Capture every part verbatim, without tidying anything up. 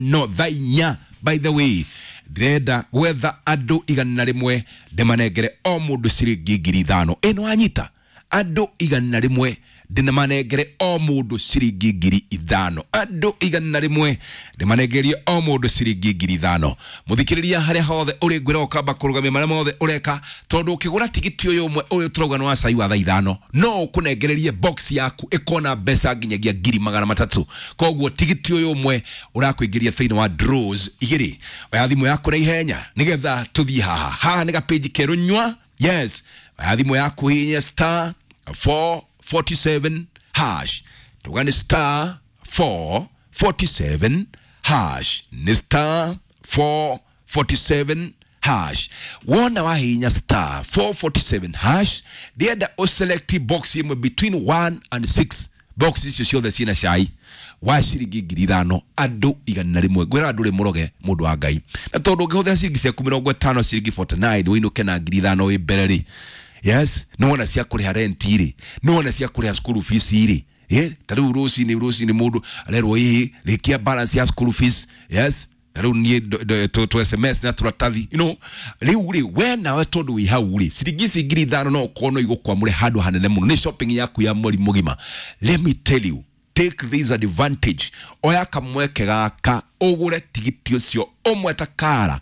ithano thaa inya. By the way, ndĩrenda gwetha andũ igana rĩmwe ndĩmanengere o mũndũ ciringi ngiri ithano. Ĩno wanyita, andũ igana rĩmwe ndĩmanengere o mũndũ ciringi ngiri ithano, andũ igana rĩmwe ndĩmanengerie o mũndũ ciringi ngiri ithano. Mũthikĩrĩria, harĩa hothe ũrĩ, ngwĩra ũkamba kũrũgamia marĩa mothe ũreka, tondũ ũkĩgũra tigiti ũyũ ũmwe ũyũ tũrauga nĩ wa cai wa thaa ithano, no ũkũnengererie box yaku ĩkona mbeca nginyagia ngiri magana matatũ. Koguo tigiti ũyũ ũmwe ũrakũingĩria thĩinĩ wa draws igĩrĩ. Oya thimũ yaku na ihenya nĩgetha tũthiĩ haha. Haha nĩ gapĩnji kerũ nyua. Yes, oya thimũ yaku, hihinya star four forty-seven hash. Tuga nĩ star four forty-seven hash, nĩ star four forty-seven hash. Wona wahihinya star four forty-seven hash, ndĩrenda ũselect box ĩmwe between one and six. Box icio ciothe ciĩna cai wa ciringi ngiri ithano, andũ igana rĩmwe. Ngwĩra andũ rĩ mũroge mũndũ wa Ngai, na tondũ ũngĩhũthĩra ciringi ciaku mĩrongo ĩtano, ciringi mĩrongo ĩna na inyanya, ũinũke na ngiri ithano wĩ mbere rĩ. Yes, nĩwona cia kũrĩha rent rĩ, nĩwona cia kũrĩha school fees rĩ. Eh, ta rĩu rũcinĩ rũcinĩ mũndũ arerwo ĩhĩ rĩkia balance ya school fees. Yes, ta rĩu niĩ tũ S M S na tũratathi, you know rĩu rĩ, we nawe tondũ wĩ hau rĩ, ciringi ici ngiri ithano no ũkorwo no igũkwamũre handũ hanene mũno, nĩ shopping yaku ya mweri mũgima. Let me tell you, take this advantage. Oya kamweke gaka ũgũre tigiti ũcio ũmwe ta kara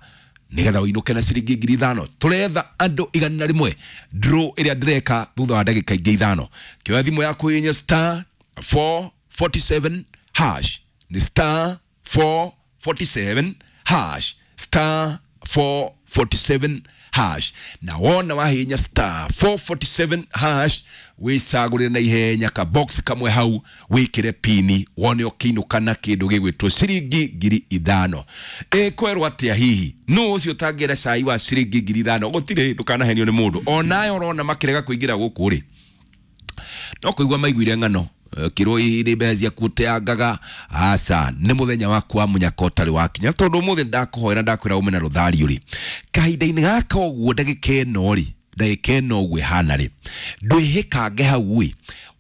nigetha ũinũke na ciringi ngiri ithano. Tũretha andũ igana rĩmwe, draw ĩrĩa ndĩreka thutha wa ndagĩka ingĩ ithano. Kĩoya thimũ yaku, yenye star four forty-seven hash, nĩ star four forty-seven hash, star four forty-seven hash. Na wona wahinya star four forty-seven hash, wicagũrĩre na ihenya ka box kamwe hau, wĩkĩre pini, wone ũkĩinũka na kĩndũ gĩgwĩtwo ciringi ngiri ithano. Ĩkwerwo atĩa hihi nũ ũcio ũtangĩra cai wa ciringi ngiri ithano? Gũtirĩ, ndũkanahenio nĩ mũndũ onayo ũrona makĩrega kũingĩra gũkũ rĩ, no kũigua maiguire ng'ano kirwo hihi mbeca ciaku ũteangaga. Aca, nĩ mũthenya waku wa mũnyaka ũtarĩ wakinya, tondũ ũmũthĩ ndakũhoera, ndakwĩra ume na rũthario rĩ, kahinda-inĩ gaka ũguo, ndagĩka ĩno rĩ, ndagĩka ĩno ũguo ĩhana rĩ, ndwĩhĩkange hau ĩ,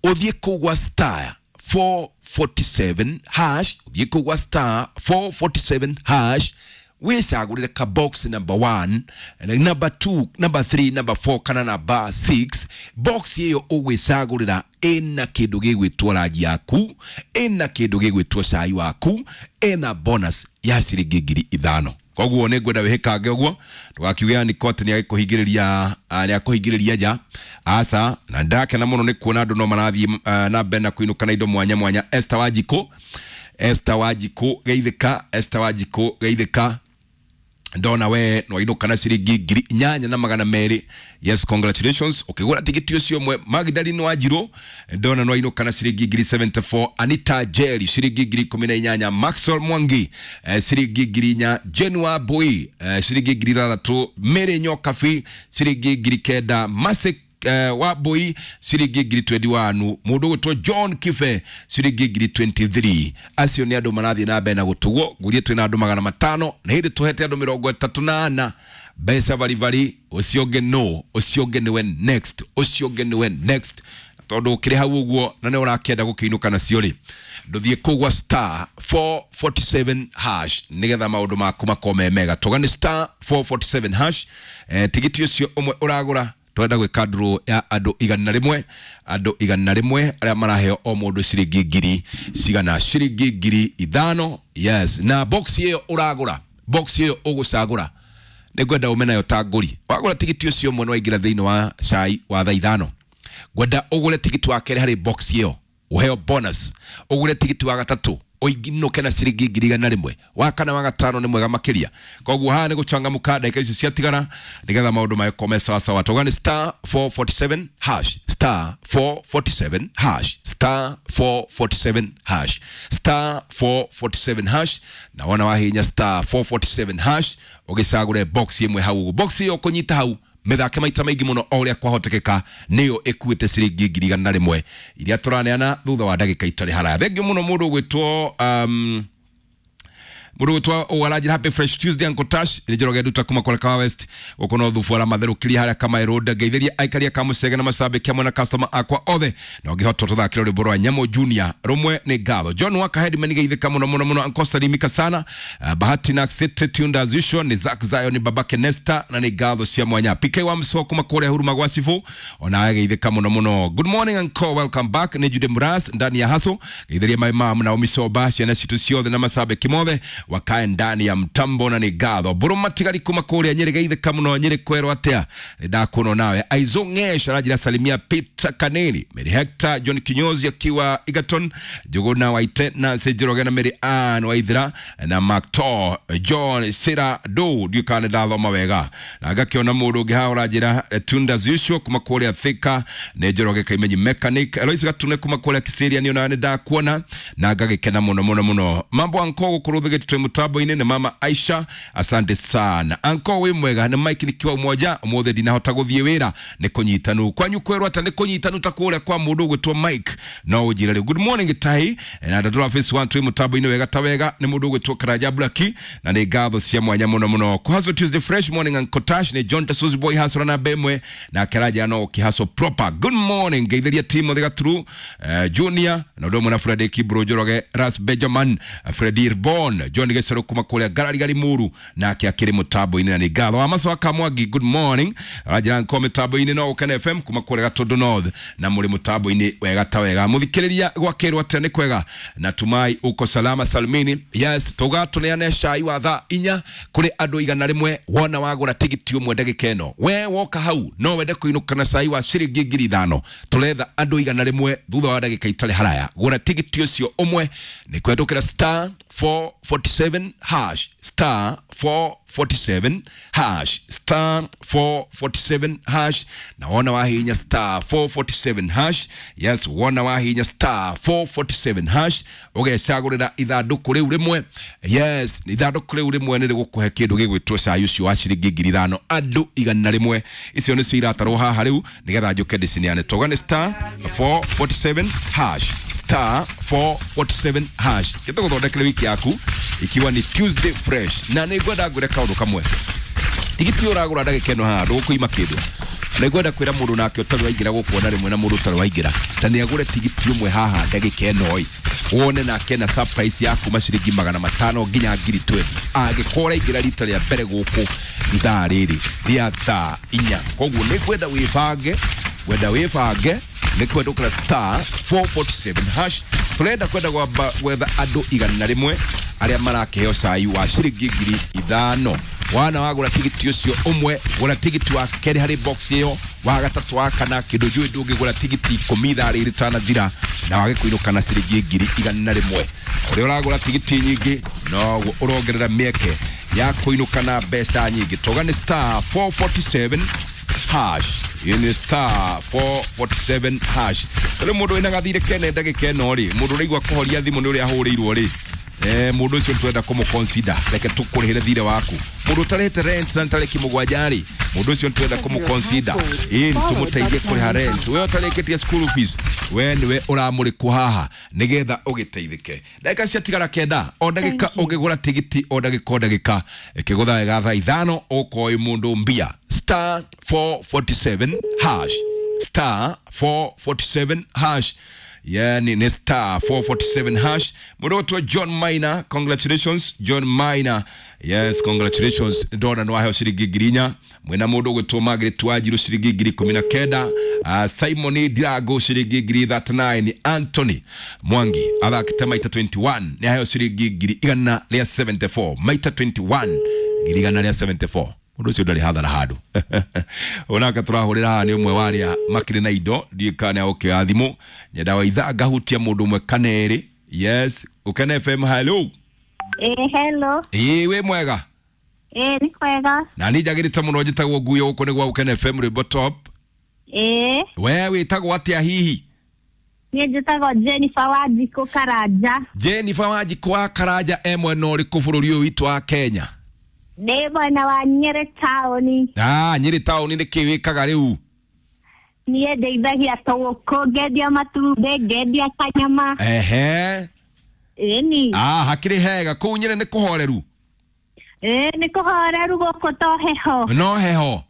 ũthiĩ kũu gwa star four forty-seven hash, ũthiĩ kũu gwa star four forty-seven hash, wĩcagũrĩre ka box number one, number two, number three, number four kana number six. Box ĩyo ũgwĩcagũrĩra ĩna kĩndũ gĩgwĩtwo ranji yaku, ĩna kĩndũ gĩgwĩtwo cai waku, ĩna bonus ya ciringi ngiri ithano. Koguo nĩ ngwenda wĩhĩkange ũguo, ndũgakiuge niko atĩ nĩ agĩkũhingĩrĩria, nĩ akũhingĩrĩria nja. Aca, na ndakena mũno nĩ kuona andũ no marathiĩ ah, na mbere na kũinũka na indo mwanya mwanya. Esther Wanjikũ, Esther Wanjikũ geithĩka, Esther Wanjikũ geithĩka. Ndona we nwainũka na ciringi ngiri inyanya na magana merĩ. Yes, congratulations ũkĩgũra tigiti ũcio ũmwe. Magdalene Wanjirũ, ndona nwainũka na ciringi ngiri mĩrongo mũgwanja na inya. Anita Jerry, ciringi ngiri ikũmi na inyanya. Maxwell Mwangi, eh, ciringi ngiri inya. Jenua Boy, eh, ciringi ngiri ithathatũ. Mary Nyokabi, ciringi ngiri kenda. Masik uh, Wambui, ciringi ngiri mĩrongo ĩĩrĩ na ĩmwe. Mũndũ ũgwĩtwo John Kibe, ciringi ngiri mĩrongo ĩĩrĩ na ithatũ. Acio nĩ andũ marathiĩ na mbere na gũtugwo. Ngurie twĩna andũ magana matano na hĩndĩ tũhete andũ mĩrongo ĩtatũ na ana mbeca baribari. Ũcio ũngĩ no ũcio ũngĩ nĩwe next, ũcio ũngĩ nĩwe next, tondũ ũkĩrĩ hau ũguo na nĩ ũrakĩenda gũkĩinũka nacio rĩ, ndũthiĩ kũu gwa star four forty-seven hash nĩgetha maũndũ maku makorwo me mega. Tũga nĩ star four forty-seven hash. eh, tigiti ũcio ũmwe ũragũra, twenda gwĩka draw ya andũ igana rĩmwe, andũ igana rĩmwe arĩa maraheo o mũndũ ciringi ngiri cigana? Ciringi ngiri ithano. Yes, na box ĩyo ũragũra, box ĩyo ũgũcagũra, nĩ ngwenda ume nayo ta ngũri. Wagũra tigiti ũcio ũmwe nĩ waingĩra thĩinĩ wa cai wa thaa ithano. Ngwenda ũgũre tigiti wa kerĩ harĩ box ĩyo, ũheo bonus. Ũgũre tigiti wa gatatũ, ũinũke na ciringi ngiri igana rĩmwe. Wa kana, wa gatano nĩ mwega makĩria. Koguo haha nĩ gũcangamũka ndagĩka icio ciatigara nĩgetha maũndũ magĩkorwo me sawa sawa. Tauga nĩ star four forty-seven hash, star four forty-seven hash, star four forty-seven hash, star four forty-seven hash. Na wona wahinya star four forty-seven hash, ũgĩcagũre box ĩmwe hau ũguo, box ĩyo ũkũnyita hau, mĩthake maita maingĩ mũno o ũrĩa kwahotekeka, nĩyo ĩkuĩte ciringi ngiri igana rĩmwe iria tũraneana thutha wa ndagĩka itarĩ haraya. Thengiũ mũno mũndũ ũgwĩtwo um, Mũndũ gwĩtwo ũgaranjĩra happy fresh Tuesday Uncle Tash nĩ Njoroge Nduta kuma kũrĩa Kahawa West gũkũ no thubu ara matherũkĩria harĩa Kamaĩ Road. Ngeithĩria aikari a Kamũcege na macambĩki hamwe na customer akwa othe na ũngĩhota tũthakĩre rwĩmbo rwa Nyamũ Junior rũmwe nĩ ngatho. John Waka Headman geithĩka mũno mũno mũno Uncle salimika sana. Uh, Bahati na City tuned as usual ni Zack Zion babake Nesta na nĩ ngatho cia mwanya. P K wa Msoko kuma kũrĩa Huruma gwa Sifu ona geithĩka mũno mũno. Good morning uncle, welcome back. Nĩ Jude Muras ndani ya haso geithĩria my mom na Omisoba ciana citũ ciothe na macambĩki mothe wakae ndani ya mtambo na nĩ ngatho. Mbũrũ matigari kuma kũrĩa Nyĩrĩ geithĩka mũno Nyĩrĩ kwerwo atĩa nĩ ndakuona nawe. Aizo Ng'esh arajira salimia Peter Kaneli, Mary Hector, John Kinyozi akiwa Egerton, Njuguna Waite na Njoroge na Mary Ann Waithira na Macto John Sira Do ndiũ kana nĩ ndathoma wega na ngakĩona mũndũ ũngĩ haha ũranjĩra tunda usual kuma kũrĩa Thika nĩ Njoroge Kaimenyi mechanic Eloise Gatune kuma kũrĩa Kisiria nĩ onawe nĩ ndakuona na ngagĩkena mũno mũno mũno. Mambo anko gũkũ rũthĩgĩte twĩ mũtambo-inĩ nĩ mama Aisha, asante sana anko wĩ mwega. Nĩ Mike nikiwa umoja ũmũthĩ ndinahota gũthiĩ wĩra nĩ kũnyitanu kwanyu kwerwo ata nĩ kũnyitanu ta kũrĩa kwa mũndũ ũgwĩtwo Mike no ũnjĩre rĩu. Good morning Tai na ndadora face one twĩ mũtambo-inĩ wega ta wega nĩ mũndũ ũgwĩtwo Karanja Blaki na nĩ ngatho cia mwanya mũno mũno. Kuhaso Tuesday fresh morning Uncle Tash nĩ John Tasuzi boy hasra na bemwe na Karanja no kihaso proper. Good morning ngeithiria Timothy Gaturu uh, Junior na ũndũ ũmwe na Freddy Kibro Njoroge Ras Benjamin Freddy Irbon John Gecero kuma kũrĩa Ngarari Muru nake akĩrĩ mũtambo-inĩ na nĩ ngatho. Wa Maso Kamwangi good morning aranjĩra nko mĩtambo-inĩ no Ũkene F M kuma kũrĩa Gatũndũ North na mũrĩ mũtambo-inĩ wega ta wega. Mũthikĩrĩria gwakĩrwo atĩa nĩ kwega natumai uko salama salmini. Yes tuga tũneane cai wa thaa inya kũrĩ andũ igana rĩmwe wona wagũra tigiti ũmwe ndagĩka ĩno we woka hau no wende kũinũka na cai wa ciringi ngiri ithano. Tũretha andũ igana rĩmwe thutha wa ndagĩka itarĩ haraya gũra tigiti ũcio ũmwe nĩ kwendũkĩra star four forty-seven hash star four forty-seven hash star four forty-seven hash na wona wahinya star four forty-seven hash. Yes wona wahinya star four forty-seven hash ũgecagũrĩra ithandũkũ rĩu rĩmwe. Yes ithandũkũ rĩu rĩmwe nĩ rĩgũkũhe kĩndũ gĩgwĩtwo cai ũcio wa ciringi ngiri ithano andũ igana rĩmwe. Icio nĩcio iratarwo haha rĩu nĩgetha njũke ndĩcineane. Toga nĩ star four forty-seven hash star four forty-seven hash gĩtũgũthondekere wiki yaku ikiwa ni Tuesday fresh na nĩ ngwenda ngwĩre kaũndũ kamwe tigiti ũragũra ndagĩka ĩno haha ndũgũkũima kĩndũ na ngwenda kwĩra mũndũ nake ũtarĩ waingĩra gũkũ rĩmwe na mũndũ ũtarĩ waingĩra ta nĩ agũre tigiti ũmwe haha ndagĩka ĩno ĩ wone nake na surprise ya kuma ciringi magana matano nginya ngiri twenty angĩkorwo ũraingĩra rita rĩa mbere gũkũ ithaa rĩrĩ rĩa thaa inya. Koguo nĩ ngwenda wĩbange wenda wĩbange nĩ kwendũkĩra star four forty-seven hash tũrenda kwenda gwamba gwetha andũ igana rĩmwe arĩa marakĩheo cai wa ciringi ngiri ithano. Wana wagũra tigiti ũcio ũmwe gũra tigiti wa kerĩ harĩ box ĩyo wa gatatũ wa kana kĩndũ njũĩ ndũngĩgũra tigiti ikũmi ithaa rĩrĩ rĩtanathira na wage kũinũka na ciringi ngiri igana rĩmwe. Ũrĩa ũragũra tigiti nyingĩ noguo ũrongerera mĩeke ya kũinũka na mbeca nyingĩ. Toga nĩ star four forty-seven hash ini star four forty-seven hash. Rĩu mũndũ wĩna gathirĩ kene ndagĩka ĩno rĩ mũndũ ũraigua kũhoria thimũ nĩ ũrĩa ahũrĩirwo rĩ eh mũndũ ũcio twenda kũmũ-consider reke tũkũrĩhĩre thirĩ waku. Mũndũ ũtarĩhĩte rent na tarĩki mũgwanja rĩ mũndũ ũcio twenda kũmũ-consider ĩĩ tũmũteithie kũrĩha rent. We ũtarĩkĩtie school fees we nĩwe ũramũrĩkwo haha nĩgetha ũgĩteithĩke. Ndagĩka ciatigara kenda o ndagĩka ũngĩgũra tigiti o ndagĩka o ndagĩka ĩkĩgũtha wega thaa ithano ũkoĩ mũndũ mbia star four forty-seven hash star four forty-seven hash. Yani ni star four forty-seven hash. Mũndũ John Maina, congratulations John Maina. Yes, congratulations. Ndona no aheo ciringi ngiri inya. Mwena mũndũ ũgwĩtwo Margaret Wanjiru ciringi ngiri ikũmi na kenda. Uh, Simon Ndirago ciringi ngiri thirty-nine. Anthony Mwangi athakĩte maita twenty-one nĩ aheo ciringi ngiri igana rĩa seventy-four. Maita twenty-one ngiri igana rĩa seventy-four. Mũndũ ũcio ndarĩ hathara handũ. Onake tũrahũrĩra haha nĩ ũmwe wa arĩa makĩrĩ na indo ndiũĩ kana nĩ agũkĩoya thimũ. Nyenda wa ithaa ngahutia mũndũ ũmwe kana erĩ. Yes, Ũkene F M hello. Eh hello. Ĩĩ wĩ mwega. Eh nĩ kwega. Na niĩ njagĩrĩte mũno njĩtagwo Nguyo gũkũ nĩ gwa Ũkene F M rwĩmbo top. Eh. We wĩtagwo atĩa hihi? Niĩ njĩtagwo Jennifer Wanjikũ Karanja. Jennifer Wanjikũ wa Karanja e mwena ũrĩkũ bũrũri ũyũ witũ wa Kenya? Ndĩ mwena wa Nyĩrĩ taũni. Ah, Nyĩrĩ taũni nĩ kĩ wĩkaga rĩu? Niĩ ndeithagia tũgũkũ, ngendia matumbĩ, ngendia kanyama. Ehe. Ĩni. Ah, hakĩrĩ hega kũu Nyĩrĩ nĩ kũhoreru? Ĩĩ, nĩ kũhoreru gũkũ to heho. No heho?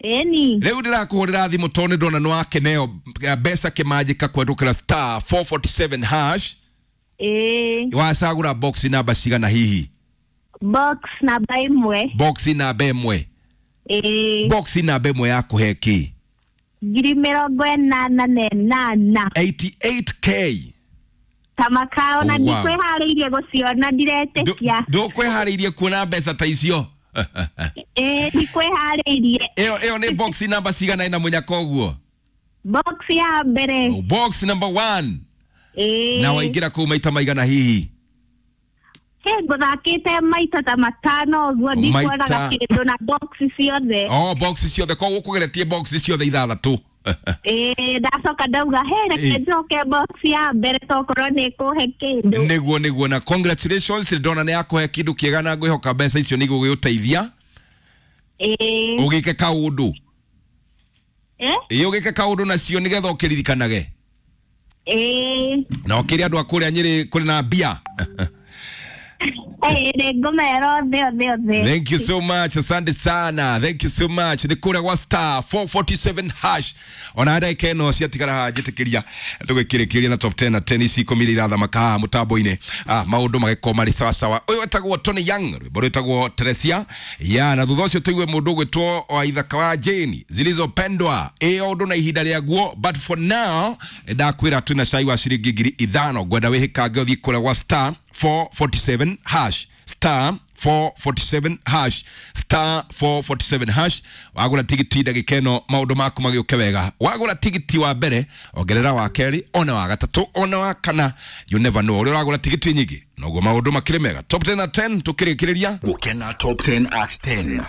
Ĩni. Rĩu ndĩrakũhũrĩra thimũ tondũ nĩ ndona nĩ wakeneo mbeca kĩmanjĩka kũhetũkĩra star four forty-seven hash. Ĩĩ. Wacagũra box namba cigana hihi? Box namba ĩmwe. Box namba ĩmwe? Ĩĩ. Box namba ĩmwe yakũhe kĩ? Ngiri mĩrongo ĩnana na ĩnana. eighty-eight K. Ta makao na Wow. ndikwĩharĩirie gũciona, ndiretĩkia. Ndũkwĩharĩirie kuona mbeca ta icio? Ĩĩ, ndikwĩharĩirie. Ĩyo ĩyo nĩ box namba cigana ĩna mũnyaka ũguo? Box ya mbere. Box number one. Ĩĩ. Na waingĩra kũu maita maigana hihi? He, ngũthakĩte maita ta matano ũguo, ndikuonaga Maita. kĩndũ na box ciothe. Oh, box ciothe, koguo ũkũgeretie box ciothe ithathatũ. Ĩĩ, ndacoka ndauga he, reke Ĩĩ. njoke box ya mbere tokorwo nĩ ĩkũhe kĩndũ. Nĩguo nĩguo, na congratulations, ndona nĩ yakũhe kĩndũ kĩega na ngwĩhoka mbeca icio nĩ igũgĩgũteithia. Ĩĩ. Ũgĩke kaũndũ. Eh? Ĩĩ, ũgĩke kaũndũ nacio nĩgetha ũkĩririkanage. Ĩĩ. Na ũkĩre andũ a kũrĩa Nyĩrĩ kũrĩ na mbia. Ĩĩ, nĩ ngũmera othe othe othe. Thank you so much, asante sana. Thank you so much. Nĩ kũrĩa gwa star four forty-seven hash. Ona ndagĩka ĩno ciatigara haha njĩtĩkĩria tũgĩkĩrĩkĩria na top ten na ten ici ikũmi iria irathamaka haha mũtambo-inĩ. Ah, maũndũ magĩkorwo marĩ sawa sawa. Ũyũ wetagwo Tony Young, rwĩmbo rwĩtagwo Teresia. Ya, na thutha ũcio tũigue mũndũ ũgwĩtwo wa ithaka wa Jane, Zilizopendwa. Ĩ o ũndũ na ihinda rĩaguo, but for now ndakwĩra twĩna cai wa ciringi ngiri ithano. Ngwenda wĩhĩkange ũthiĩ kũrĩa gwa star four forty-seven hash, star four forty-seven hash, star four forty-seven hash. Wagũra tigiti ndagĩka ĩno maũndũ maku magĩũke wega. Wagũra tigiti wa mbere, ongerera wa kerĩ, ona wa gatatũ, ona wa kana. You never know, ũrĩa ũragũra tigiti nyingĩ noguo maũndũ makĩrĩ mega. Top ten at ten tũkĩrĩkĩrĩria Gũkena top ten at ten.